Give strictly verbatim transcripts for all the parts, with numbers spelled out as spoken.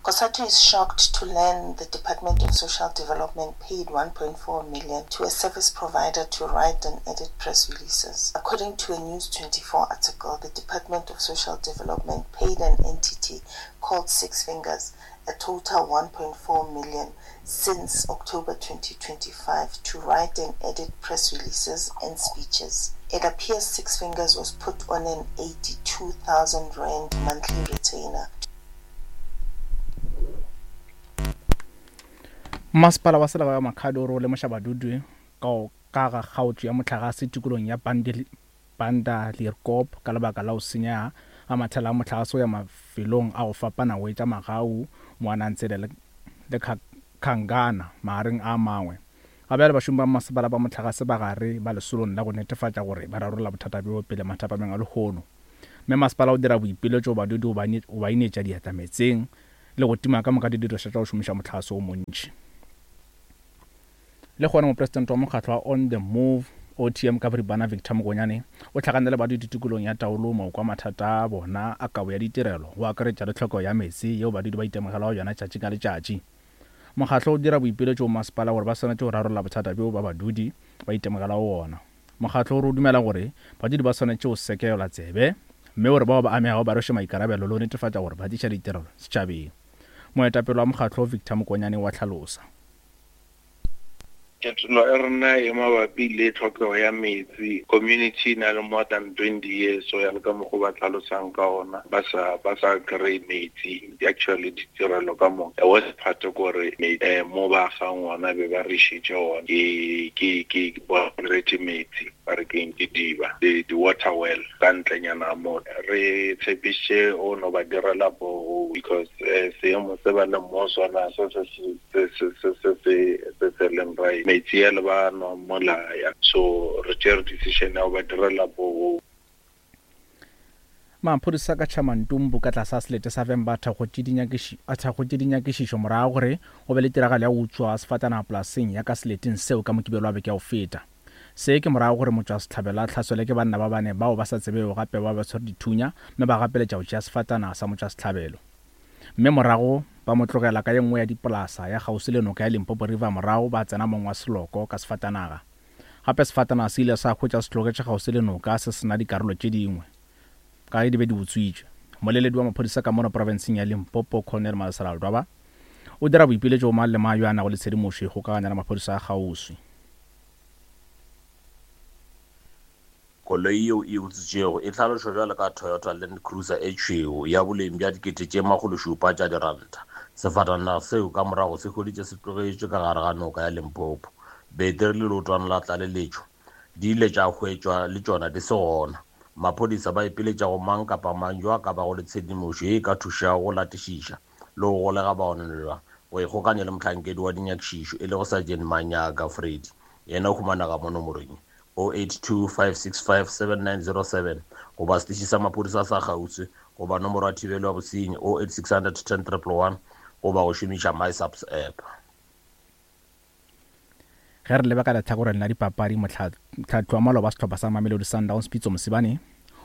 COSATU is shocked to learn the Department of Social Development paid one point four million to a service provider to write and edit press releases. According to a News twenty-four article, the Department of Social Development paid an entity called Six Fingers a total one point four million since October twenty twenty-five to write and edit press releases and speeches. It appears Six Fingers was put on an eighty-two thousand rand monthly retainer. Masepala wa selegae wa Makhado o lemoša badudi ka ka ga kgaotšo ya mohlagase tikolong ya Bandelierkop ka lebaka la go senya ga mathela a mohlagase go ya mafelong a go fapana go etša Magau, Moanantsele le, le Khangana magareng a mangwe. Ga bjale bašomi ba masepala ba mohlagase ba gare ba lesolong la go netefatša gore ba rarolla bothata bjo pele mathapameng a lehono. Mme masepala o dira boipiletšo badudi go ba inetša diatla meetseng le go tima ka moka didirišwa tša go šomiša mohlagase o montši. Le gona mopresidente wa mokgatlo wa On The Move O T M ka boripana Victor Mokonyane o hlakane le badudi tikolong ya Taolo mo kwa mathata a bona a kabo ya ditirelo go akaretša le tlhoko ya meetse yeo badudi ba itemogelago yona tšatši ka letšatši. Mokgatlo o dira boipiletšo go masepala gore ba swanetše go rarolla bothata bjo ba badudi ba itemogelago wona. Mokgatlo o re o dumela gore badudi ba swanetše go sekelwa tsebe mme gore bao ba amegago ba rweše maikarabelo le go netefatša gore ba tliša ditirelo setšhabeng. Moetapele wa mokgatlo Victor Mokonyane wa hlalosa. Ketelo e rena e mabapi le tlhokego ya metsi. Community na le more than twenty years so ya le ka mokgwa ba tlhalosang ka ona ba sa ba sa kry metsi actually ditirelo ka moka. The worst part ke gore mo ba agang ona be ba re išitše ona ke ke ke ba rete metsi ba re keng ke diba the the water well ka ntlenyana mo re tshepiše o no ba direla bo because seemo se ba le mo sona se se se se se se se se leng right metsi a le ba nwa molaya so re tšere decision ya go ba direla bo. Maphodisa ka Chamantumbu ka tlasa selete sa Vhembe a thakgotše dinyakišišo morago gore go be le tiragalo ya go utswa sefatanaga polaseng ya ka seleteng seo ka Mokibelo wa beke ya go feta. Se ke morago gore motšwasehlabelo a hlaselwe ke banna ba bane bao ba sa tsebego gape ba ba tshwere dithunya mme ba gapeletša go tšea sefatanaga sa motšwasehlabelo. Mme morago ba mo tlogela ka ye nngwe ya dipolasa ya kgauswi le noka ya Limpopo River morago ba tsena mong wa seloko ka sefatanaga. Gape sefatanaga se ile sa hwetša se tlogetše kgauswi le noka se sena dikarolo tše dingwe ka ge di be di utswitšwe. Moleledi wa maphodisa ka mono profenseng ya Limpopo Colonel Malesela Ledwaba o dira boipiletšo go mang le mang yo a nago le tshedimošo e kgokaganya le maphodisa a kgauswi. Koloi yeo e utswitšwego e hlalošwa bjalo ka Toyota Land Cruiser e tšhweu ya boleng bja dikete tše makgolo šupa tša diranta. Sefatanaga seo ka morago se hweditše se tlogetšwe ka gare ga noka ya Limpopo. Beteri le leotwana la tlaleletšo di ile tša hwetšwa le tšona di se gona. Maphodisa ba ipiletša go mang kapa mang yo a ka bago le tshedimošo ye e ka thušago go latišiša le go golega baonelwa go ikgokanya le mohlankedi wa dinyakišišo e lego Sergeant Manyaga Freddy. Yena o humanega mo nomorong oh eight two five six five seven nine zero seven goba setiši sa maphodisa sa kgauswi goba nomoro ya thibelo ya bosenyi oh eight six hundred ten triple one goba go šomiša MySAPS app. Ge re leba ka lehlakoreng la dipapadi, mohlahli wa maloba wa sehlopha sa Mamelodi Sundowns Pitso Mosimane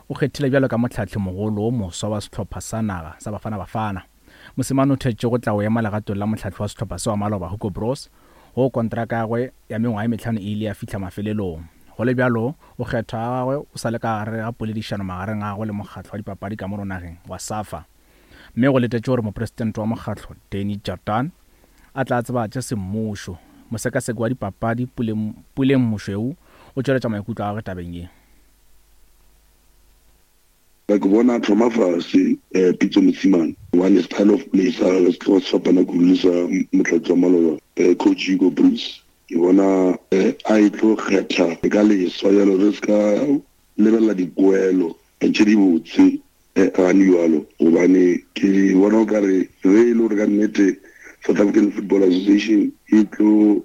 o kgethile bjalo ka mohlahli mogolo o moswa wa sehlopha sa naga sa Bafana Bafana. Mosimane o thetše go tla go ema legatong la mohlahli wa sehlopha se wa maloba Hugo Broos go kontraka ya gagwe ya mengwaga e mehlano e ile ya fihla mafelelong. Go le bjalo, o kgethwa ga gagwe o sa le ka gare ga poledišano magareng a gagwe le mokgatlo wa dipapadi ka mono nageng wa SAFA. Mme go letetše gore mopresidente wa mokgatlo Danny Jordaan a tla tsebatše semmušo. Mosekaseki wa dipapadi Puleng Mošweu o tšweletša maikutlo a gagwe tabeng ye. Ke bona thoma fase Pitso Mosimane gobane style of play sa gagwe se tloga se fapana kudu le sa motlatsi wa maloba coach Hugo Broos. Ke bona a e tlo kgetha ka leswa jalo re se ka lebelela dipoelo tše dibotse gane jalo gobane ke bona o kare ge e le gore ka nnete South African Football Association e tlo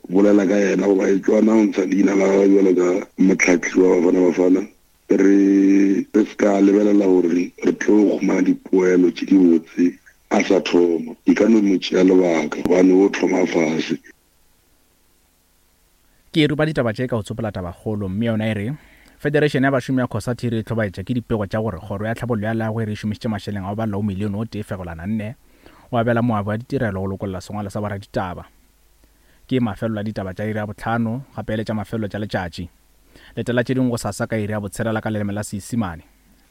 bolela ka yena goba e tlo announce leina la gagwe jalo ka motlhahli wa Bafana Bafana re re se ka lebelela gore re tlo humana dipoelo tše dibotse a sa thoma. E ka no mo tšea lebaka gobane o thoma fase. Ke rupa ditaba tše ka go tsopola tabakgolo mme yona e re Federation ya bašomi ya COSATU e re hlobaetša ke dipego tša gore kgoro ya tlhabollo ya leago e re šomišitše mašeleng a go balela o milione o tee fegelwana nne O abela moabi wa ditirelo go lokolla sengwalo sa boraditaba. Ke mafelelo a ditaba tša iri ya bohlano gape le tša mafelelo tša letšatši. Letela tše dingwe gosasa ka iri ya botshelela ka leleme la Seisimane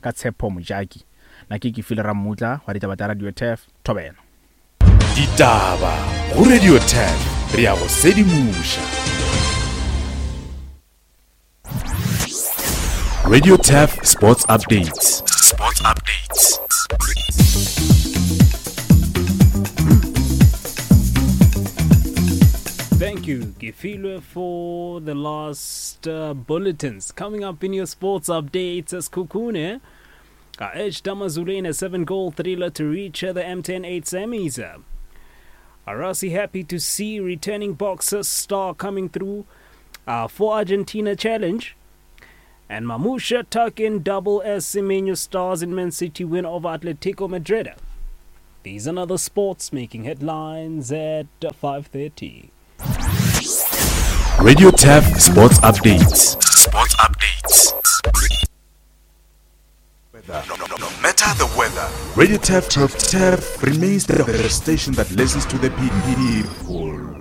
ka Tshepo Mojaki. Na ke Kefile Rammutla wa ditaba tša Radio Turf Thobela. Ditaba go Radio Turf re ya go sedimoša. Radio Turf Sports Updates. Sports Updates. Thank you, Kefilwe, for the last uh, bulletins. Coming up in your sports updates, as Kukune uh, edged AmaZulu in a seven-goal thriller to reach uh, the M ten eight semis. Arasi happy to see returning boxer star coming through uh, for Argentina challenge. And Mamusha tuck in double as Semenyo stars in Man City win over Atletico Madrid. These and other sports making headlines at five thirty. Radio Turf Sports Updates. Sports Updates. No, no, no matter the weather, Radio Turf Turf Turf remains the, the station that listens to the people.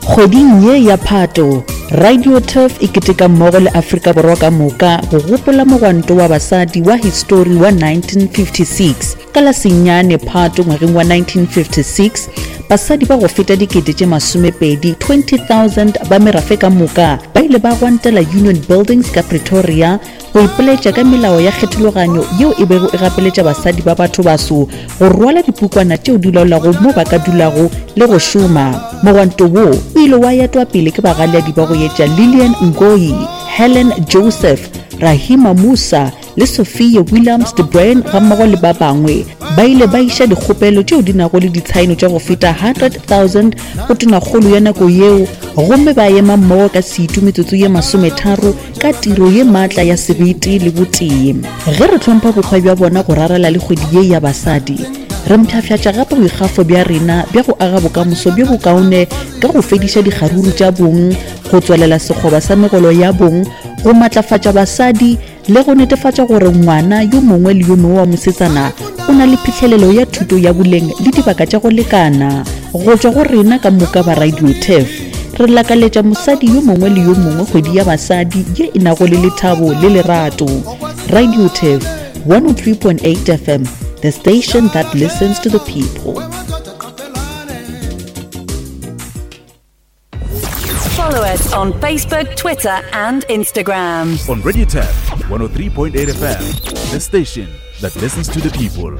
Kgweding ye ya Phato, Radio Turf e keteka mmogo le Afrika Borwa ka moka go gopola mogwanto wa basadi wa histori wa nineteen fifty-six. Ka la senyane Phato ngwageng wa nineteen fifty-six, basadi ba go feta dikete tše masomepedi twenty thousand ba merafe ka moka ba ile ba gwantela Union Buildings ka Pretoria go ipoletša ka melao ya kgethologanyo yeo e bego e gapeletša basadi ba batho baso go rwala dipukwana tšeo di laolago mo ba ka dulago le go šoma. Mogwanto wo o ile wa etwa pele ke bagaladi ba go etša Lillian Ngoyi, Helen Joseph, Rahima Musa le Sophia Williams de Bruyn gammogo le ba bangwe. Ba ile ba iša dikgopelo tšeo di nago le ditshaeno tša go feta hundred thousand go tonakgolo ya nako yeo, gomme ba ema mmogo ka setu metsotso ye masometharo ka tiro ye maatla ya sebete le botee. Ge re hlompha bokgwa bja bona go rarela le kgwedi ye ya basadi, re mpshafšatša gape boikgafo bja rena bja go aga bokamoso bjo bokaone ka go fediša dikgaruru tša bong, go tswelela sekgoba sa megolo ya bong, go matlafatša basadi le go netefatša gore ngwana yo mongwe le yo mongwe wa mosetsana o na le phihlelelo ya thuto ya boleng le dibaka tša go lekana. Go tšwa go rena ka moka ba Radio Turf, re lakaletša mosadi yo mongwe le yo mongwe kgwedi ya basadi ye e nago le lethabo le lerato. Radio Turf one oh three point eight F M, the station that listens to the people. Follow us on Facebook, Twitter, and Instagram. On Radio Turf one oh three point eight F M, the station that listens to the people.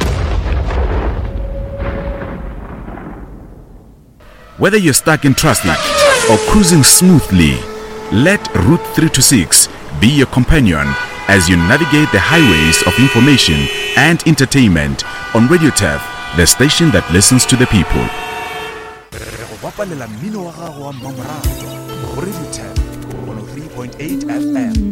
Whether you're stuck in traffic or cruising smoothly, let Route three two six be your companion as you navigate the highways of information and entertainment on Radio Turf, the station that listens to the people. Radio Turf one oh three point eight F M.